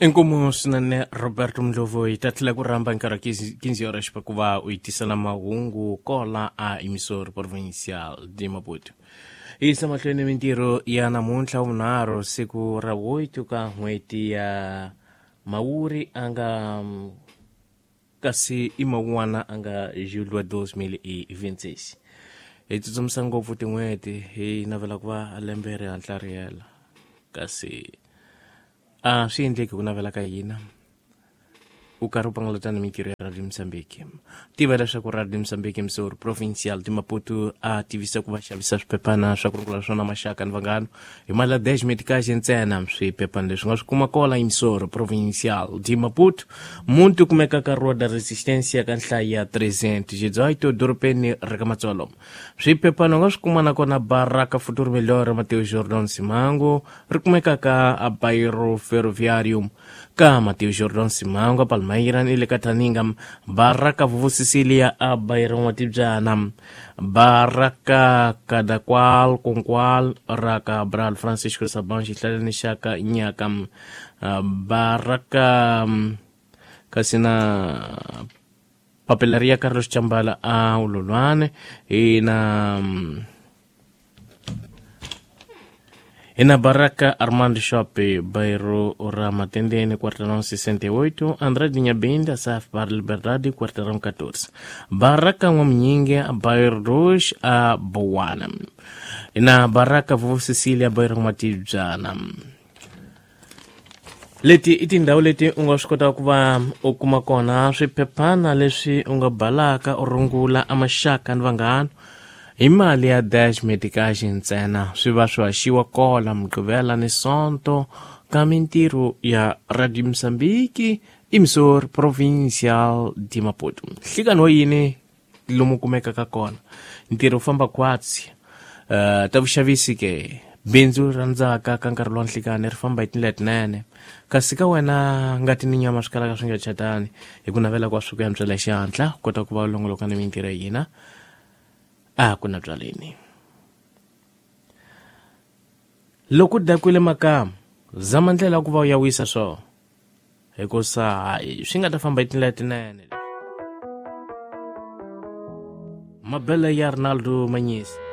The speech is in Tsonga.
Inkomu swinene Roberto Ndlovu, hi ta tlhela ku rhamba nkarhi wa 15 horas pa ku va u hi tisela mahungu kola a emissor provincial de Maputo. Hi yisa mahlweni mintirho ya namuntlha vunharhu, siku ra 8 ka n'hweti ya Mawuri a nga kasi i mawun'wana a nga julho 2026. Hi tsutsumisa ngopfu tin'hweti, hi navela ku va lembe ri hatla ri hela, kasi a swi endleki ku navela ka hina. U karhi u pangalata ni mintirho ya Radio Mozambique. Tiva leswaku Radio Mozambique emissor provincial de Maputo a tivisa ku va xavisa swiphephana swa ku rungula swona maxaka ni vanghana hi mali ya 10 meticage ntsena. Swiphephana leswi nga swi kuma kola emissor provincial de Maputo, muti kumeka ka Rua da Resistência ka nhlayo ya 318 dorobeni ra ka Matsolo. Swiphephana u nga swi kuma nakona Baraka Futuro Melhor Mateus Jordan Simango, ri kumeka ka Bairro Ferroviário ka Mateus Jordan Simango, Palmeira ni le ka Thaninga. Baraka Vuvu Cecilia a Bairro N'watibyana, Baraka Kadakwal Kunkwal ra ka Bral Francisco Saban xihlaleni xa ka Nyaka, Baraka kasi na Papelaria Carlos Chambala a Ululwane, ina Baraka Armando Shop, bairro ra Matendene, quarteirão 68, André de Nhabinda, Saf Bar Liberdade, quarteirão 14, Baraka N'wamunyinge, bairro 2 a Bowana, ina Baraka Vuvu Cecilia, bairro Matibyana. Leti i tindhawu leti u nga swi kotaka ku va u kuma kona swiphephana leswi u nga balaka u rungula amaxaka ni vanghana hi mali ya dash meticage ntsena. Swi va swi haxiwa kola Mugqivela ni Sonto ka mintirho ya Radio Mozambique emissor provincial de Maputo. Nhlikani wa yini lomu kumekaka kona ntirho wu famba khwatsi. Ta vuxavisi ke, bindzu ra ndzhaka ka nkarhi lowa nhlikani ri famba hi tindlela tinene, kasi ka wena ngati ni nyama swi kalaka swi nga chatani. Hi ku navela kwa swi ku yantswela xihatla u kota ku va u longoloka ni mintirho ya hina a ku na byaleni. Loko u dakwile makamu, zama ndlela ya ku va u ya wisa swona, hikusa hayi swi nga ta famba hi tindlela tinene. Mabele ya Ronaldo Manyisi.